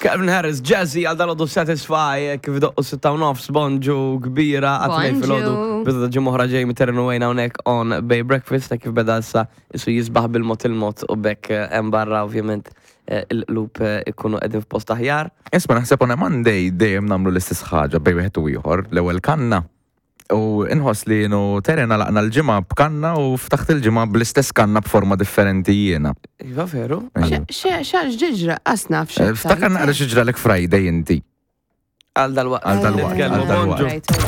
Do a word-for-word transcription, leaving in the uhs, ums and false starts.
Calvin Harris, Jazzy, għal dalgħodu Satisfy, kif doqqu sitta u nofs, bonġu kbira, għat-tnejn filgħodu. Bonġu. Bidu ta' ġimgħa oħra Jamie Terren u Wayne hawnhekk on Bay Breakfast, ta' kif beda issa isu jisbaħ bil-mod il-mod u bekk eh, hemm barra ovvjament eh, il-qlub eh, ikunu qegħdin f'post aħjar. Isma, naħseb on a Monday dejjem nagħmlu l-istess ħaġa bej wieħed u ieħor, l-ewwel kanna. U inħoss li jenu Terena laqna l-ġimgħa b'kanna u ftaħt il-ġimgħa bl-istess kanna b'forma differenti jiena. Iva veru? Xax ġiġra, asna Eh, Ftakar naqra xi ġralek Friday inti. Għal dal-waqt. Għal dal-waqt, Nitkellmu, għal dal-waqt. bonġu.